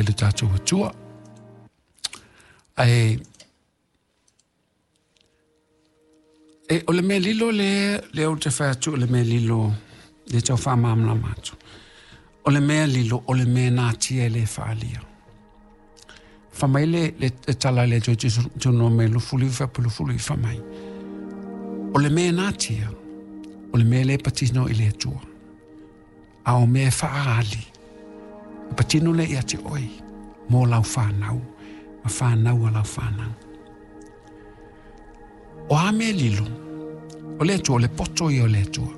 Faafetai i le tatou Atua. Ae e, o le mea lilo lea, lea ou te fai atu o le mea lilo, lea tau faamalamalama atu. O le mea lilo, o le mea natia e le faalia. Fa mai le, le, le tala le Atua Deuteronome 29 faapu fa mai. O le mea natia, o le mea le patino i le Atua. A o mea faaali, e patino le ia te oe, mo lau whānau, ma whānau a lau whānau. O a mea lilo, o le Atua, o le poto ia o le Atua.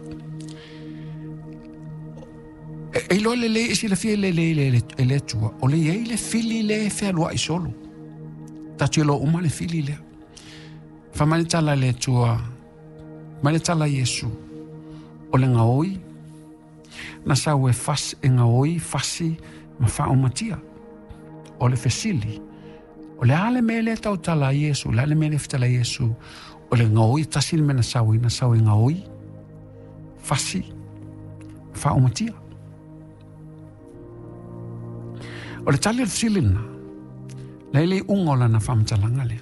E iloa lelei e silafia lelei e le Atua, o le iai le fili le fealuai solo. Tatou iloa uma le fili lea. Fa mai le tala le Atua, mai le tala Iesu, o le gaoi, na sau e fas, e gaoi, fasi, ma faaumatia. O le fesili, o le a le mea lea tautala ai Iesu, o le a le mea lea fetala ai Iesu, o le gaoi, tasi le mea na sau ai, na sau e gaoi, fasi, faaumatia. O le tali o le fesili lena, la e le iuga o lana faamatalaga lea.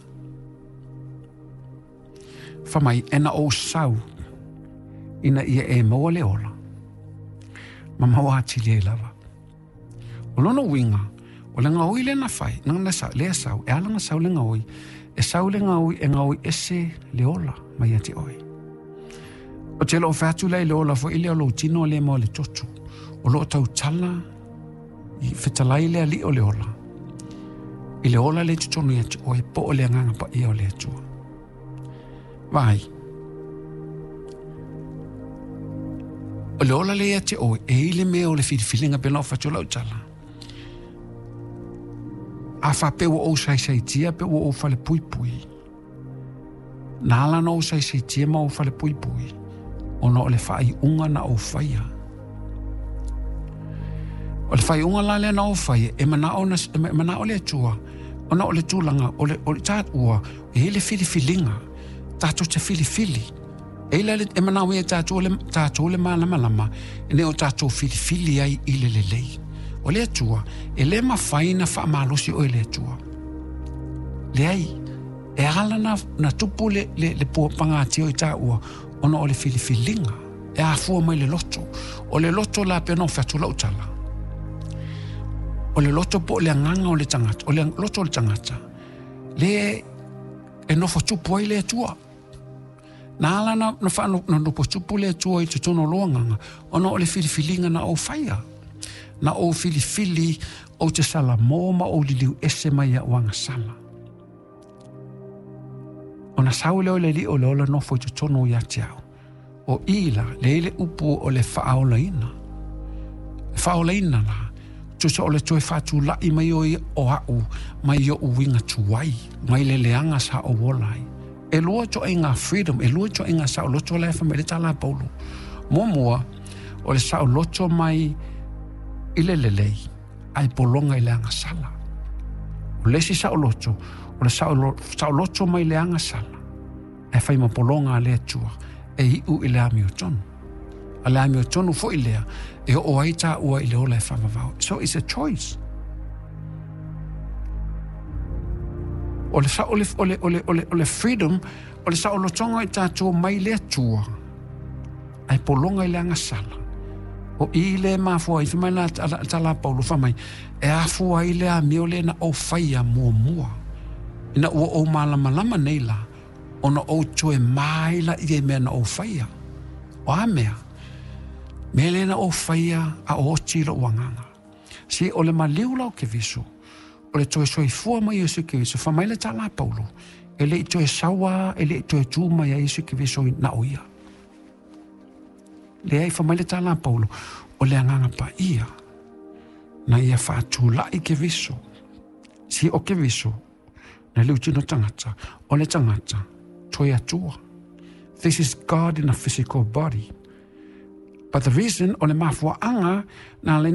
Fa mai, e na ou sau, ina ia e maua le ola, ma maua atili ai lava. O lona uiga, o le gaoi lea na fai, na, na sa, lea sau, e ala na sau le gaoi, e sau le gaoi, e gaoi ese le ola mai ia te oe. O te loo fai atu lea i le ola foi lea o lou tino lea ma o le toto. O loo tautala i fetalai le alii o le ola. I le ola le totonu ia te oe, po o le agaga paia o le Atua. Vaai. O le ola le ia te oe, e i le mea o le filifiliga pe na o fatu lau tala. A faapea ua ou saisaitia pe ua ou falepuipui. Na ala na ou saisaitia ma ou falepuipui, ona o le faaiuga na ou faia. O le faaiuga la lea na ou faia, e manao, na, e manao le Atua, ona o le tulaga, o le, o le tā ua, e i ai le filifiliga, tatou te filifili. E i ai e manao ia tatou le, tatou le malamalama, ina ia o tatou filifili ai i le lelei. O le Atua, e le mafai na faamalosi oe e le Atua. Leai, e ala na, na tupu le, le, le pua pagatia o i tāua, ona o le filifiliga, e afua mai le loto. O le loto la pei ona ou fai atu lau tala. O le loto po o le agaga o le tagata, o le loto o le tagata, le e nofo tupu ai le Atua. Na ala na, na, wha, na nofo tupu le Atua i totonu o lou agaga, ona o le filifiliga na ou faia. Na ou filifili ou te salamo ma ou liliu ese mai au agasala. Ona sau lea o le Alii o le ola nofo i totonu ia te au. O i la, le i le upu o le faaolaina. Le faaolaina la, tusa o le toe faatulai mai o ia o a'u mai i oʻu uiga tuai, mai le leaga sa ou ola ai. E lua ituaiga freedom, e lua ituaiga saoloto la e fai mai le tala a Paulo. Muamua, o le saoloto mai i le lelei, ae pologa i le agasala. O le isi saoloto, o le saoloto mai le agasala, ae fai ma pologa a le Atua, e iu i le amiotonu. A le amiotonu foi lea, e oo ai tāua i le ola e faavavau. So it's a choice. O le, o le, o le, o le, o le, o le freedom, o le saolotoga i tātou mai le Atua, ae pologa i le agasala. O i le mafua ai, fai mai la tala a Paulo, fai mai, e afua ai le amio lea na ou faia muamua. Ina ua ou malamalama nei la, ona ou toe mai la i mea na ou faia. O a mea? Mea lea na ou faia a o oti lou agaga. Se o le maliu la o Keriso, o le toe soifua mai o Iesu Keriso, fai mai le tala a Paulo, e le i toe saua, e le i toe tū mai ai Iesu Keriso na o ia. Leai, fai mai le tala a Paulo, o le agaga paia, na ia faatulai Keriso, si o Keriso, na le tino tagata, o le tagata, toe Atua. This is God in a physical body. But the reason, o le mafuaaga, na